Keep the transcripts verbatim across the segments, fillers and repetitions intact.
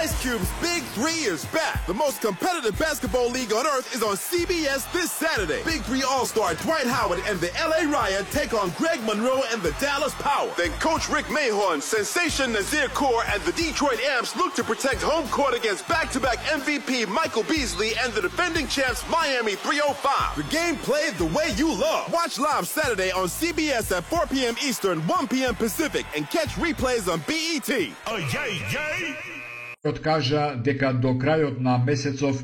Ice Cube's Big Three is back. The most competitive basketball league on earth is on C B S this Saturday. Big Three All-Star Dwight Howard and the L A Riot take on Greg Monroe and the Dallas Power. Then Coach Rick Mahorn, Sensation Nazir Kaur, and the Detroit Amps look to protect home court against back-to-back M V P Michael Beasley and the defending champs Miami three oh five. The game played the way you love. Watch live Saturday on C B S at four p.m. Eastern, one p.m. Pacific, and catch replays on B E T. Oh, yay, yay! Откажа дека до крајот на месецов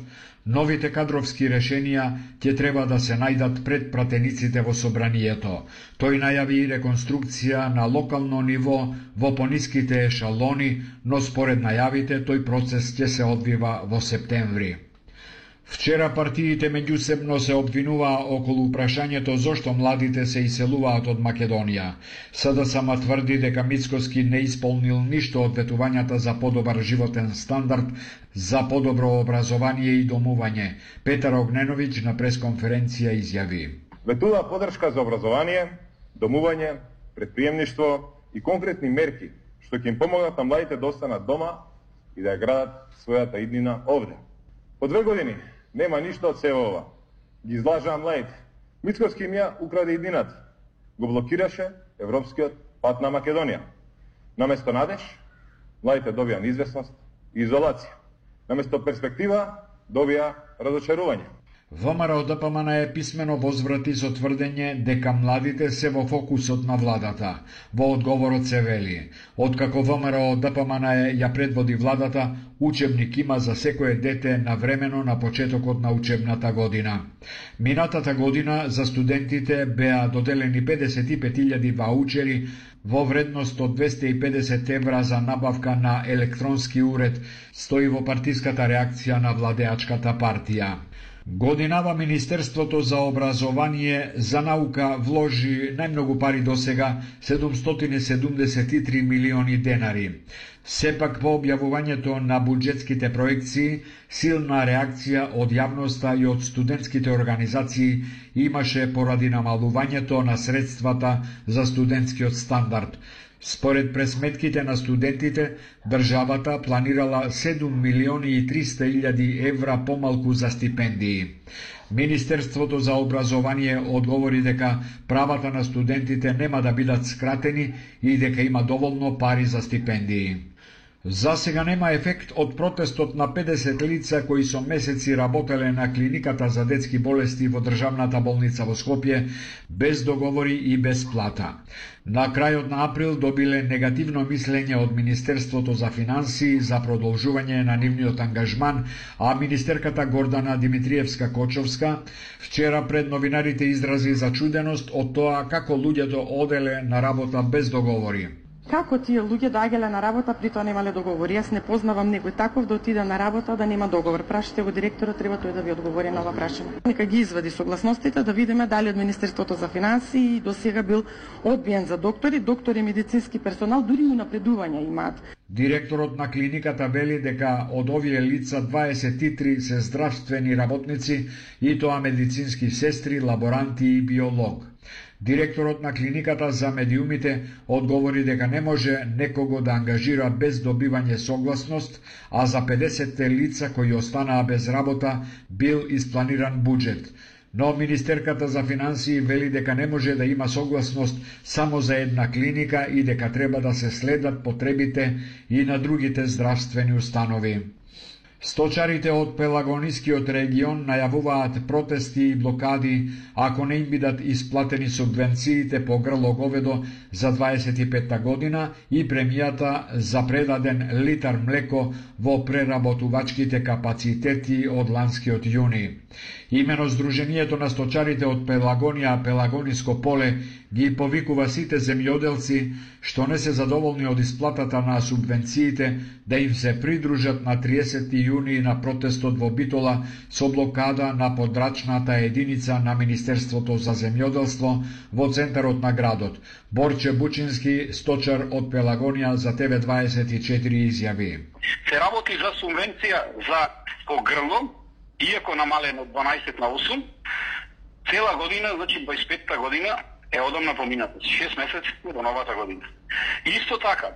новите кадровски решенија ќе треба да се најдат пред пратениците во собранието. Тој најави реконструкција на локално ниво во пониските ешалони, но според најавите тој процес ќе се одвива во септември. Вчера партиите меѓусебно се обвинуваа околу прашањето зошто младите се иселуваат од Македонија. СДСМ тврди дека Мицкоски не исполнил ништо од ветувањата за подобар животен стандард, за подобро образование и домување. Петар Огненовиќ на пресконференција изјави: Ветува подршка за образование, домување, предприемништво и конкретни мерки што ќе им помогнат на младите да останат дома и да ја градат својата иднина овде. По две години нема ништо од сева ова. Ги излажаа младите. Мицкоски им ја украде иднината. Го блокираше европскиот пат на Македонија. Наместо надеж, младите добија неизвестност и изолација. Наместо перспектива, добија разочарување. ВМРО Д П М Н е писмено возврати со тврдење дека младите се во фокусот на владата. Во одговорот се вели: откако ВМРО Д П М Н ја предводи владата, учебник има за секое дете навремено на почетокот на учебната година. Минатата година за студентите беа доделени педесет и пет илјади ваучери во вредност од двесте и педесет евра за набавка на електронски уред, стои во партиската реакција на владеачката партија. Годинава Министерството за образование за наука вложи најмногу пари досега, седумстотини седумдесет и три милиони денари. Сепак по објавувањето на буџетските проекции, силна реакција од јавноста и од студентските организации имаше поради намалувањето на средствата за студентскиот стандард. Според пресметките на студентите, државата планирала седум милиони и триста илјади евра помалку за стипендии. Министерството за образование одговори дека правата на студентите нема да бидат скратени и дека има доволно пари за стипендии. За сега нема ефект од протестот на педесет лица кои со месеци работеле на клиниката за детски болести во државната болница во Скопје, без договори и без плата. На крајот на април добиле негативно мислење од Министерството за финансии за продолжување на нивниот ангажман, а министерката Гордана Димитриевска-Кочовска вчера пред новинарите изрази зачуденост од тоа како луѓето оделе на работа без договори. Како тие луѓе доаѓале на работа, при тоа немале договори? Јас не познавам некој таков да отиде на работа да нема договор. Прашате го директорот, треба тој да ви одговори на ова прашање. Нека ги извади согласностите да видиме дали од Министерството за финансии до сега бил одбиен за доктори, доктори и медицински персонал, дури и напредувања имаат. Директорот на клиниката вели дека од овие лица дваесет и три се здравствени работници и тоа медицински сестри, лаборанти и биолог. Директорот на клиниката за медиумите одговори дека не може некого да ангажира без добивање согласност, а за педесетте лица кои останаа без работа бил испланиран буџет. Но министерката за финансии вели дека не може да има согласност само за една клиника и дека треба да се следат потребите и на другите здравствени установи. Сточарите од Пелагонискиот регион најавуваат протести и блокади ако не им бидат исплатени субвенциите по грло говедо за дваесет и петта година и премијата за предаден литар млеко во преработувачките капацитети од ланскиот јуни. Имено Сдруженијето на сточарите од Пелагонија, Пелагониско поле ги повикува сите земјоделци што не се задоволни од исплатата на субвенциите да им се придружат на триесети јуни на протестот во Битола со блокада на подрачната единица на Министерството за земјоделство во центарот на градот. Борче Бучински, сточар од Пелагонија, за Т В дваесет и четири изјави: се работи за субвенција за по грло, иако намалено од дванаесет на осум, цела година, значи дваесет и петта година е одамна помината, шест месеци до новата година. Исто така,